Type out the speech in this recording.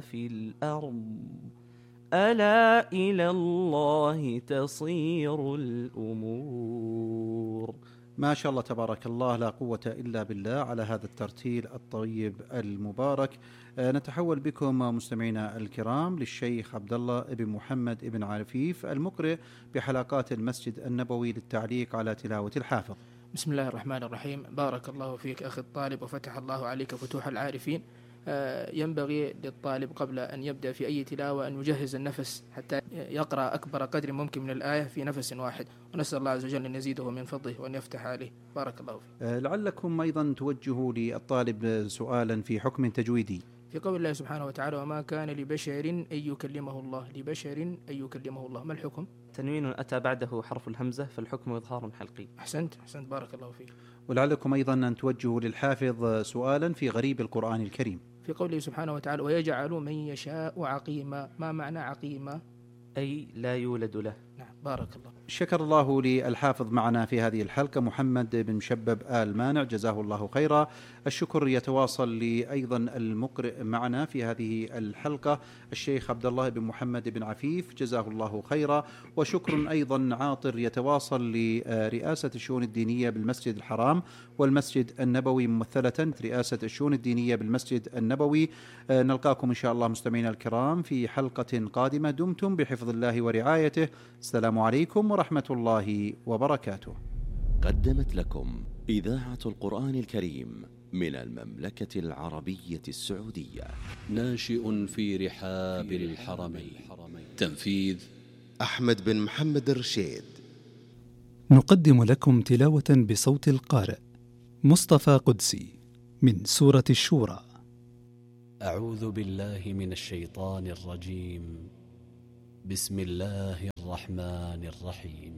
في الأرض ألا إلى الله تصير الأمور. ما شاء الله تبارك الله، لا قوة إلا بالله على هذا الترتيل الطيب المبارك. نتحول بكم مستمعينا الكرام للشيخ عبد الله بن محمد بن عفيف المقرئ بحلقات المسجد النبوي للتعليق على تلاوة الحافظ. بسم الله الرحمن الرحيم. بارك الله فيك أخي الطالب وفتح الله عليك فتوح العارفين. ينبغي للطالب قبل أن يبدأ في أي تلاوة أن يجهز النفس حتى يقرأ أكبر قدر ممكن من الآية في نفس واحد، ونسأل الله عز وجل أن يزيده من فضله وأن يفتح عليه. بارك الله فيك. لعلكم أيضا توجهوا للطالب سؤالا في حكم تجويدي في قول الله سبحانه وتعالى: وما كان لبشر أن يكلمه الله. لبشر أن يكلمه الله، ما الحكم؟ تنوين أتى بعده حرف الهمزة فالحكم إظهار حلقي. أحسنت بارك الله فيك. ولعلكم أيضا أن توجهوا للحافظ سؤالا في غريب القرآن الكريم في قوله سبحانه وتعالى: ويجعل من يشاء عقيما. ما معنى عقيما؟ أي لا يولد له. نعم بارك الله. شكر الله للحافظ معنا في هذه الحلقة محمد بن مشبب آل مانع، جزاه الله خيرا. الشكر يتواصل لأيضا المقرئ معنا في هذه الحلقة الشيخ عبد الله بن محمد بن عفيف، جزاه الله خيرا. وشكر أيضا عاطر يتواصل لرئاسة الشؤون الدينية بالمسجد الحرام والمسجد النبوي، ممثلة رئاسة الشؤون الدينية بالمسجد النبوي. نلقاكم إن شاء الله مستمعينا الكرام في حلقة قادمة. دمتم بحفظ الله ورعايته. السلام عليكم ورحمة الله وبركاته. قدمت لكم إذاعة القرآن الكريم من المملكة العربية السعودية. ناشئ في رحاب الحرمين. تنفيذ أحمد بن محمد الرشيد. نقدم لكم تلاوة بصوت القارئ مصطفى قدسي من سورة الشورى. أعوذ بالله من الشيطان الرجيم. بسم الله الرحمن الرحيم.